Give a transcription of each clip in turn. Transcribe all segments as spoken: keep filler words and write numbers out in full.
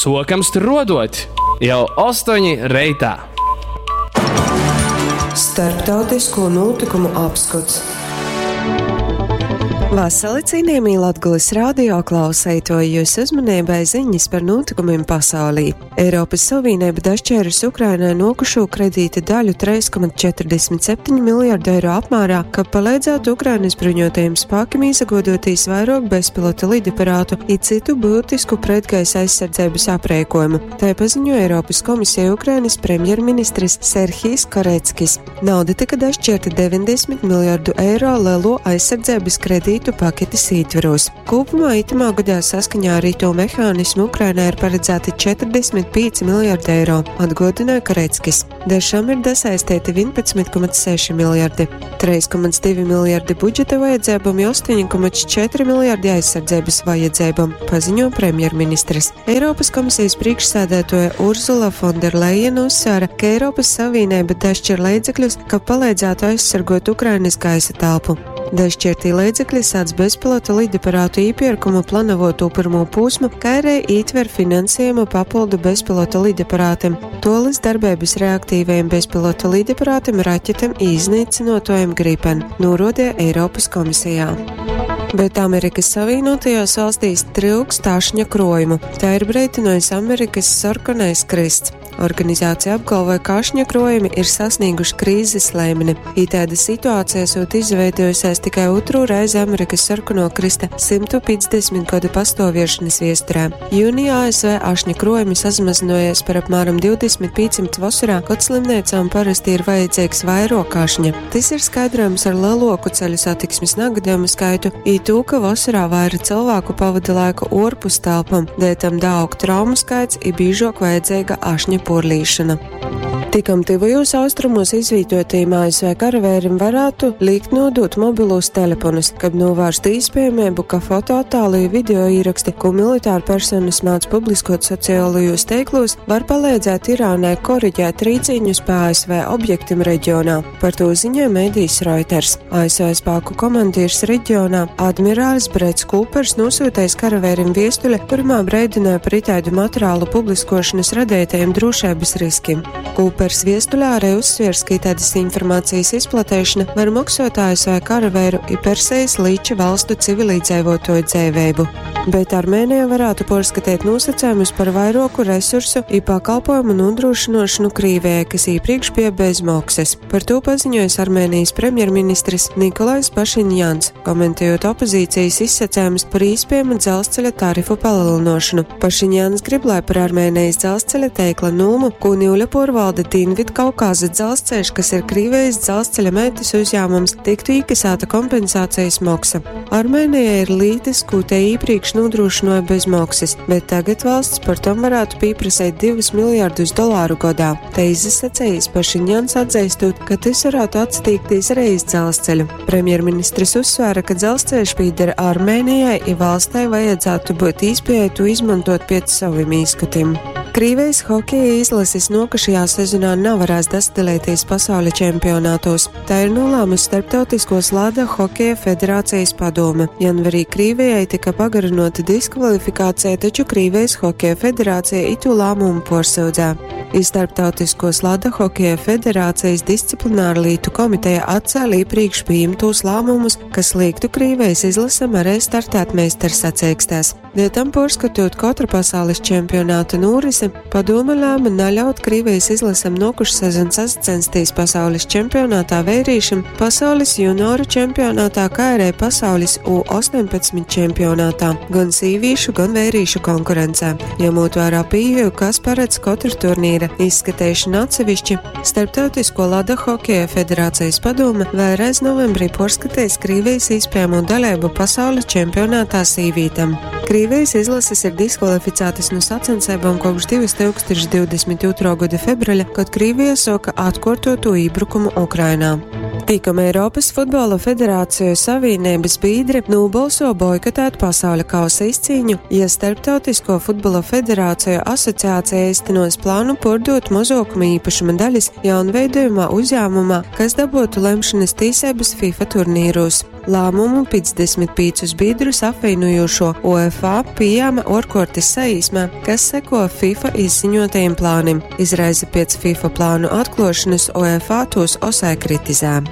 Suokam struoduot jau ostoņi reitā. Starptautisko notikumu apskots. Vasali, cienījamie Latgulas radio klausētoji, jūs uzmanībai ziņas par notikumiem pasaulī. Eiropas Savienība dašķērusi Ukrainai nokušo kredīta daļu trīs komats četrdesmit septiņi miljardu eiro apmērā, ka palīdzētu Ukrainas bruņotajiem spēkiem izagodotīs vairāk bezpilota lidaparātu i citu būtisku pretgaisa aizsardzības aprēkojumu. Tā paziņoja Eiropas komisija Ukrainas premjerministrs Serhijs Koreckis. Nauda tika dašķirta deviņdesmit miljardu eiro lielo aizsardzības kredītu paketes ietveros. Kopumā itamā gadā saskaņā ar ito mehānismu Ukrainai ir paredzēti četrdesmit pieci miljardi eiro, atgādināja Koreckis. Dažam ir dasaistīti vienpadsmit komats seši miljardi, trīs komats divi miljardi budžeta vajadzībām, astoņi komats četri miljardi aizsardzības vajadzībām, paziņo premjerministrs. Eiropas komisijas priekšsēdētoja Urzula Fonderleina uzsvēra, ka Eiropas Savienība dašķir līdzekļus, ka palīdzētu aizsargot Ukrainas gaisa telpu. Dažšķirtī līdzekļi sāc bezpilota lidaparātu īpirkumu planovoto pirmo posmu, kā arī ietver finansējumu papildu bezpilota lidaparātiem, tolis darbības reaktīvajiem bezpilota lidaparātiem, raķetēm iznīcinotojiem Gripen, norodīja Eiropas komisijā. Bet Amerikas Savienotajās valstīs trūkst ašņa krojumu. Tā ir brīdinājis Amerikas sarkanais krysts. Organizācija apgalvoja, ka ašņa krojumi ir sasnieguši krīzes līmeni. Itāda situācija esot izveidojusies tikai otro reizi Amerikas sarkano krysta simtu piecdesmit gadu pastāviešanas viesturē. Jūnijā A S V ašņa krojumi sazmazinājies par apmēram divdesmit pieciem vasarā, kad slimnīcām parasti ir vajadzīgs vairāk ašņa. Tas ir skaidrojams ar lielāku ceļu satiksmes negadījumu skaitu, i to, ka vasarā vairāk cilvēku pavada laiku ārpus telpām, dēļ tam daug traumu skaits i biežāk vajadzīga ašņa porlīšana. Tikam tuvajos austrumos izvietotajiem A S V karavērim varētu likt nodot mobilos telefonus, kad novērst iespējamību, ka fotoattēlu i video ieraksti, ko militāra personas māc publiskot sociālajos tīklos, var palīdzēt Irānai koriģēt rīciņus pa A S V objektiem reģionā. Par to ziņoja medijs Reuters. A S V spēku komandieris reģionā admirālis Brets Kūpers nosūtījis karavērim viestuli, kurumā brīdināja par itādu materiālu publiskošanas radītajiem drošības riskiem. Kūpers viestulē arī uzsviers, ka tādas informācijas izplatīšana var maksot A S V karavēru i Persijas līča valstu civilizēvotoju dzēvēbu. Bet Armēnija varētu porskatīt nosacījumus par vairāku resursu i pakalpojumu nodrošināšanu Krīvijai, kas iepriekš bija bez maksas. Par to paziņojis Armēnijas premjerministrs Nikolais Pašiņjans, komentējot opozīcijas izsacējumus par iespējamu dzelzceļa tarifu palielināšanu. Pašiņjans grib, lai par Armēnijas dzelzceļa teikla nūmu, ko Niuļa porvalda Dienvidkaukāza dzelzceļš, kas ir Krīvijas dzelzceļa meitas uzņēmums, tiktu iekasēta kompensācijas maksa. Armēnijai ir lītis, ko te iepriekš nodrošināja bez maksas, bet tagad valsts par tom varētu pieprasīt divus miljardus dolāru gadā. Te izsacījis Pašiņjans atzīstot, ka tas varētu atsatīkties arī iz dzelzceļu. Premjerministrs uzsvēra, ka dzelzceļš pieder Armēnijai, i valstei vajadzētu būt īspējai to izmantot pēc saviem īskatiem. Krīvijas hokeja izlases nokušajā sezonā nevarēs dasdalīties pasaules čempionātos. Tā ir nolēmusi Starptautiskos lada hokeja federācijas padome. Janvarī Krīvijai tika pagarinota diskvalifikācija, taču Krīvijas hokeja federācija itu lēmumu porsūdzē. I Starptautiskos lada hokeja federācijas disciplināra lītu komiteja atcēla iepriekš pieņemtos lēmumus, kas liektu Krīvijas izlasam arī startēt meistarsacīkstēs. Dēļ tam porskatot katru pasaules čempionāta norisi, padome lēma neļaut Krīvijas izlasam nokušu sezonu sacensties pasaules čempionātā vērīšam, pasaules junioru čempionātā, kā arī pasaules U astoņpadsmit čempionātā, gan sīvīšu, gan vērīšu konkurencē. Ņemot vērā pieeju, kas paredz katru turnīra izskatīšanu atsevišķi, Starptautisko lada hokeja federācijas padome vēlreiz novembrī porskatīs Krīvijas iespējamo dalību pasaules čempionātā sīvītam. Krīvijas izlases ir diskvalificētas no sacensībām kopš divtūkstoš divdesmit otrā gada februāra, kad Krīvija sāka atkārtoto iebrukumu Ukrainā. Tikam Eiropas Futbola Federāciju Savienības biedri nobalso boikotēt pasaules kausa izcīņu, ja Starptautisko futbola federāciju asociācija īstenos plānu pārdot mazākuma īpašuma daļas jaunveidojumā uzņēmumā, kas dabūtu lemšanas tīsības FIFA turnīros. Lāmumu piecdesmit pīcus bīdrus apvīnojošo UEFA pījāma uorkuortys saīsmē, kas seko FIFA izziņotajim plānim. Izreizi piec FIFA plānu atkluošonys UEFA tūs osai kritizē.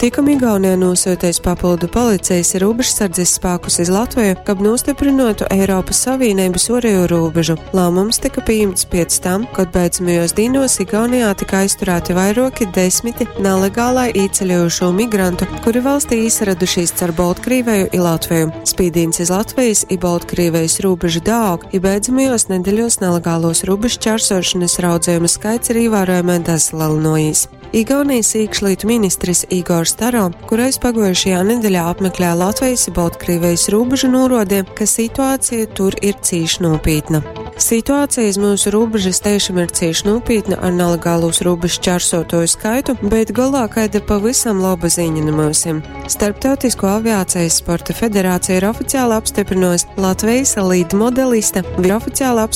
Tikom Igaunija nūsyuteis papildu policejis i rūbežsardzis spākus iz Latveju, kab nūstyprynuotu Eiropys Savīneibys uorejū rūbežu. Lāmums tyka pījimts piec tam, kod beidzamajuos dīnuos Igaunijā tyka aizturāti vairuoki desmiti nalegālai īceļojušū migrantu, kuri valstī īsaradušīs car Boltkrīveju i Latveju. Spīdīns iz Latvejis i Boltkrīvejis rūbežu daaug, i beidzamajuos nedeļuos nalegāluos rūbežšķērsošonys raudzejumu skaits ir īvārojamai dasalelynuojīs. Igaunijas iekšlietu ministrs Igors Taro, kurais paguojušajā nedeļā apmeklēja Latvijas i Boltkrīvejis rūbežu, nūruodeja, ka situācija tur ir cīši nūpītna. Situācija iz myusu rūbežas tiešām ir cīši nūpītna ar nalegālūs rūbežu šķērsotoju skaitu, bet golā kaida pavisam laba ziņa nu myusim. Starptautisko aviācijas sporta federācija ir oficiāli apstiprinusi Latvijas lidmodelista, ir oficiāli apstiprinusi